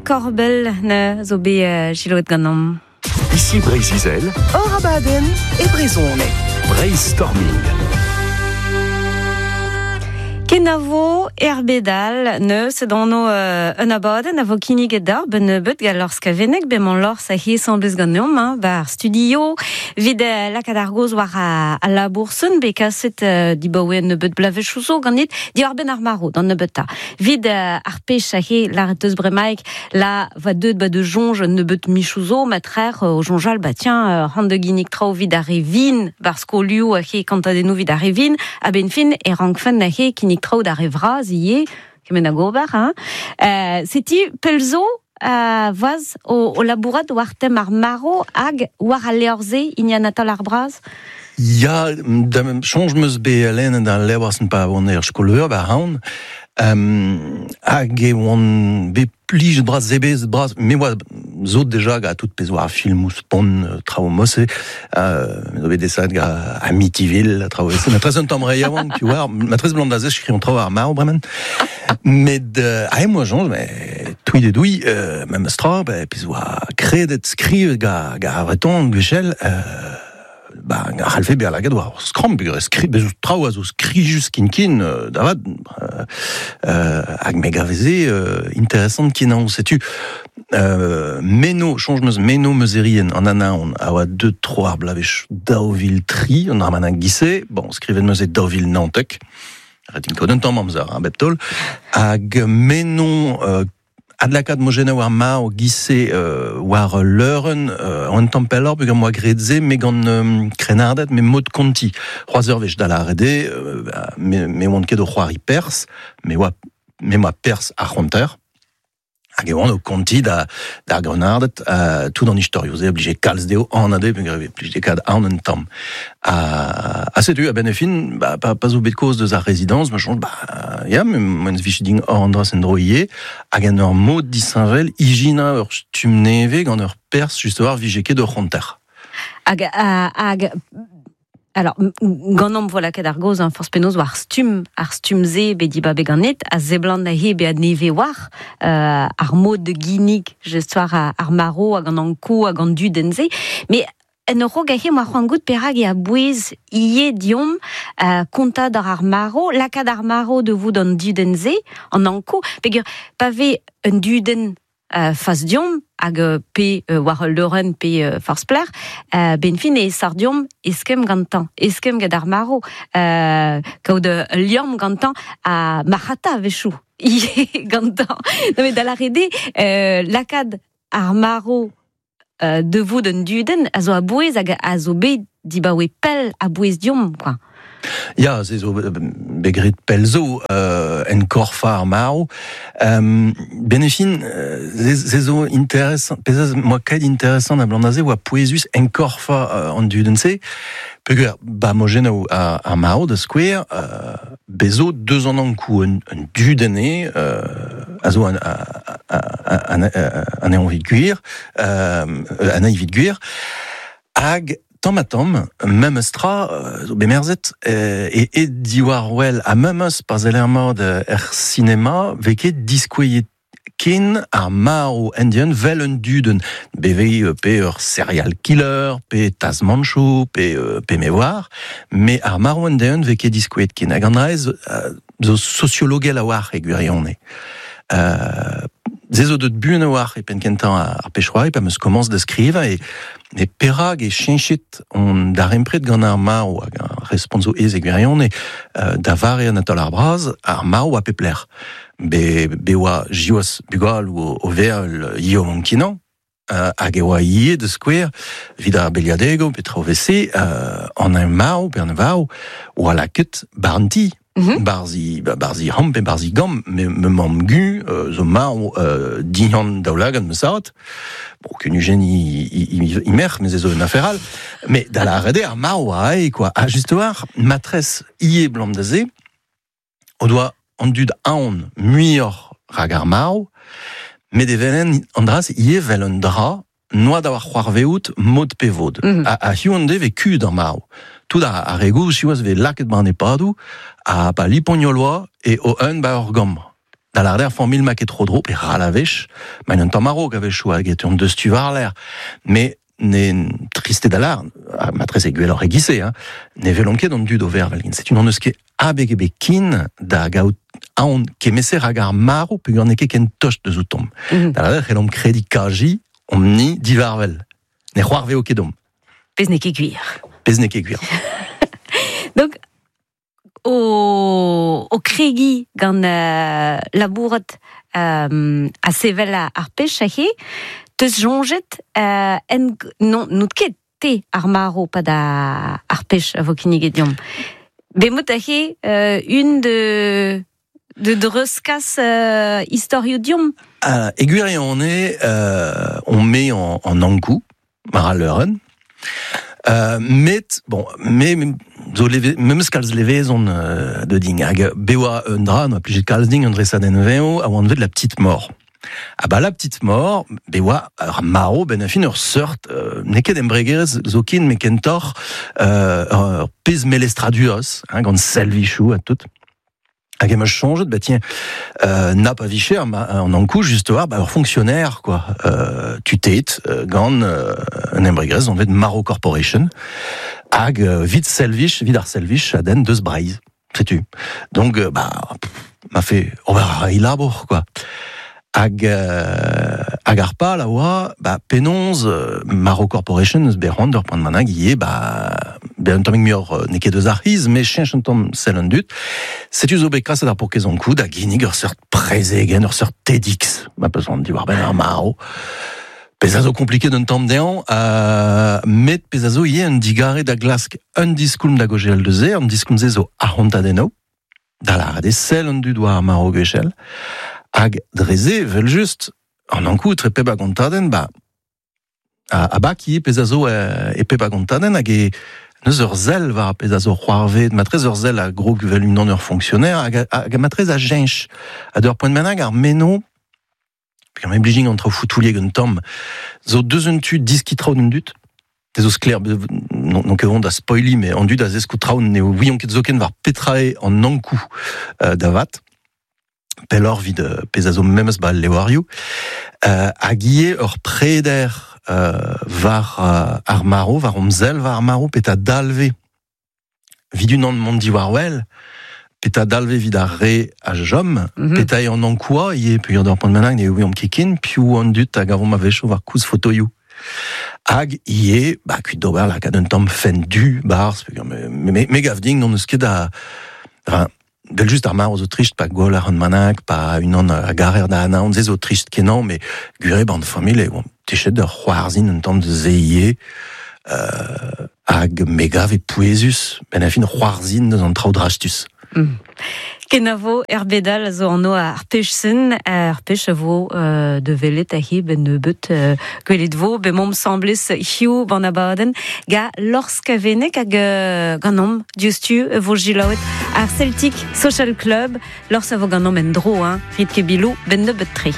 Korbel ne zo bet selaouet ganeomp. Ici Breizh-Izel. Hor abadenn e brezhoneg. Breizh-Storming. Kenavo er bed all neus edon un abadenn a vo kinniget d'ar ben nebeut gant Lors Skaveneg, bemañ Lors a asambles ganeomp hein, bar studio evit lakaat ar gaoz war al labour-sen bet kaset dibaoe un nebeut bloavezhioù zo ganit diwar-benn ar marv d'an nebeutañ. Evit ar pech aze lâret eus bremaik la va deuet ba de soñj un nebeut michoù zo matrec'h o soñjal ba tiens c'hoant da ginnig traoù evit ar re vin war skolioù aze kontadennoù evit ar re vin a-benn fin e rankfen aze kinnig traoù d'ar re vras ivez kement hag ober hein. Setu pell zo voaz o labourat war tem ar marv hag war al levr-se hini Anatole ar Braz? Ya, da soñj 'm eus bet lennet al levr-se pa oan er skol-veur ba Raon. Hag e oan bet plijet bras, sebezet bras. Me oa sot deja gant tout pezh oa ar filmoù spont, traoù mod-se. Me zo bet desavet gant Amityville, traoù evel-se. Matreze un tamm re yaouank, tu vois. Matreze blam da se skrivañ traoù ar marv bremañ. Met aet 'moa soñj, mais touit e douilh, memes tra, pezh oa kredet skrivet gant ar Vreton gwechall, ba, a c'hallfe bezañ lakaet war ur skramm peogwir skri bez traoù a zo skrijus ken-ken da vat hag me gave se interesant kenañ setu meno soñj 'm eus meno meuzerien an anaon a oa deuet tro ar bloavezh 2003 an dra giz-se bon skrivet 'm eus e 2019 ret int kaout un tamm amzer hein, bep taol hag meno Adlakaat mojennoù ar marv giz-se war ul leurenn un tamm pelloc'h peogwir 'moa graet se me gant krennarded me mod kontiñ. C'hoazh ur wech da lâret eo me oan ket o c'hoari perzh, me oa me 'moa perzh ar c'honter. Hag e oan o kontiñ da d'ar grennarded tout an istorioù-se a blije kalz dezho anat eo peogwir e plije kaout aon un tamm. Ha setu a-benn ar fin ba pa zo bet kaoz deus ar rezidañs ma soñj ba ya m'en vije din an dra en-dro ivez hag en ur mod disheñvel ijinañ ur stumm nevez gant ur perzh just war vije ket ur c'honter. Hag hag alors ganeomp vo lakaet ar gaoz forzh penaos war stumm ar stumm-se bet dibabet ganit a seblant aze bezañ nevez war ar mod de ginnig just war ar marv hag an ankoù hag an dudenn-se mais En ur rog aze 'moa c'hoant goût perak eo a-bouez ivez deomp kontañ doc'h ar marv, lakaat ar marv da vout an dudenn-se, an Ankou, peogwir pa vez un dudenn fas deomp hag pe war ul leurenn pe forzh pelec'h, benn fin e sar deomp eskemm gantañ, eskemm gant ar marv, kaout ul liamm gantañ ha marc'hata a-wechoù ivez gantañ. Non mais da lâret eo lakaat ar marv de vout un dudenn a zo a-bouez hag a zo bet dibaoe pell a-bouez deomp quoi. Ya, se zo bet graet pell zo en korf ar marv. Ben e fin, se zo interesant, pezh moa ket interesant abalamour da se oa pouezus enkorfañ an dudenn-se. Peogwir ba mojennoù ar marv, da skouer, bez zo deus an Ankou un dudenn eo a zo anezhañ evit gwir, anezhi evit gwir, hag tamm-ha-tamm, memes tra zo bet merzet e diwar-wel ha memes pa seller mat er sinema 'vez ket diskouezet ken ar marv end-eeun 'vel un dudenn. Beveñ pe ur serial killer, pe tasmanchoù, pe me oar, met ar marv end-eeun 'vez ket diskouezet ken. Hag an dra-se zo sosiologel a-walc'h e gwirionez. Se zo deut buan a-walc'h e penn-kentañ ar pezh-c'hoari pa 'm eus komañs da skrivañ e perak e cheñchet hon darempred gant ar marv hag ar respont zo aes e gwirionez. Da vare Anatole ar Braz, ar marv oa pep lec'h. Be oa siwazh bugaloù o vervel yaouank-kenañ hag e oa ivez da skouer evit ar beliadegoù pe traoù evel-se an eñ marv pe an varv oa lakaet 'ba an ti. Barzh barzh he c'hamp pe barzh he gambr ma mamm-gu zo marv dindan daoulagad ma zad. Bon, kunujenn he merc'h, met se zo un afer all. Met da lâret eo ar marv oa aet quoi. Ha just a-walc'h, matresse ivez 'blam da se o doa an dud aon muioc'h rak ar marv, met evel-henn an dra-se ivez 'vel un dra noa da c'hoarvezout mod pe vod. Ha hiziv an deiz 'vez kud ar marv. Tout ar re gozh siwazh 'vez lakaet 'ba an EHPADoù ha pa lipont oa e o-un 'ba ur gambr. Da l'ar der famil ma ket tro dro, pe ral a vech, ma un tamm a-raok a vechou hag et un deus tu war l'air. Mais ne triste da l'ar, matrez e gwelloc'h egise, hein, ne velon ket an dud o vervel. Setu n'on eus ket abeg ebet kin da gaout aon kemese hag ar maro peogwir n'eo ket ken tost deus outomp. Da l'ar c'hellomp kredi kaji omp-ni divarvel. Ne c'hoarveo ket domp. Pezh n'eo ket gwir. Pezh n'eo ket gwir. Donc, o kregi gant labourat a sevel ar pech ahe, teus soñjet en non, n'out ket te ar maro pa da ar pech a vo kinniget deomp. Bemot ahe un de dreuskas istorioù deomp. E gwirionez, on met en ankou, mar al leurenn. Met, bon, me, zo leve, me meus kalz levezon de ding. Hag bewa un dra, no plijet kalz ding, un dresadenn veo, a oan vet la petite mort. Ah bah la petite mort, bewa ur maro ben a fin ur seurt, n'eo ket embregerezh zo kin, met kentoc'h ur pezh melestraduros, hein, gant selvichoù ha tout. Hag em eus soñjet, bah tiens, na pa vicher, ma, an ankou, just war, bah, ur fonctionnaire, quoi. Tutet, gant un embregerezh, on vet Maro Corporation, hag vit selvich, vit ar selvich, a den deus Breizh. Setu. Donc, bah, pff, m'a fait ober ar labour, quoi. Hag hag ar pal a oa, bah, penaos Maro Corporation eus bet c'hoant d'ur poent bennak ivez, bah, bet un tammig muioc'h n'eo ket eus ar c'hiz, met cheñch un tamm sell an dud. Setu zo bet kaset ar pourkezh an kou da ginnig ur seurt prezegenn, ur seurt TEDx, ma peus c'hoant diwar-benn ar maro. Pezh a zo kompliket un tamm dezhañ, met pezh a zo ivez un digare da glask un diskoulm da gaozeal deus se, an diskoulm-se zo arc'hantadennoù, da lâret eo sell an dud war ar maro gwechall. Hag dre se, vel just, an ankou etre pep a gontadenn, ba, a bak ivez pezh a zo e pep a gontadenn, hag e neus ur sell war pezh a zo c'hoarvet, matrez ur sell a grog vel unan ur fonctionnaire, hag matrez a jench. Ha d'ur poent bennak ar meno, pe am eblijing an traoù foutouliek un tamm, zo deus un tu diski traoù d'un dud, te zo sklaer, non ket vont da spoili, mais an dud a zesko traoù ne ouiont ket zoken war petra eo an ankou da vat. Pelloc'h vid pezh a zo memes ba levrioù. Hag ivez ur preder war ar maro, war omzel war ar maro, petra dalve vid unan mont diwar wel, petra dalve vid ar re a jom, petra eo an ankoua, ivez peogwir d'ur poent bennak ne ouiomp ket ken, piv an dud a gavomp a-wechoù war koulz fotoioù. Hag ivez, ba, kuit d'ober lakaat un tamm fent du barzh, peogwir me gav din n'on eus ket da... Enfin, Del just ar maro zo trist pa gwall ar an manak, pa unan a garer da anaon, se zo trist kenañ, mais gure ban familh eo, techet da c'hoarzhin un tamm de zeie, hag me gav e pouezus, ben a fin c'hoarzhin deus an traoù drastus. Kenavo er bedal a zo anv ar pech-sen, ar pech a vo de velet a he ben nebeut gwelet vo, be momp semblez hiu ban abadenn, ga Lors Kavenek hag ganomp diouzhtu vo jilaouet ar Celtic Social Club, Lors a vo ganomp en dro, hein, rit ket bilou, ben nebeut tre.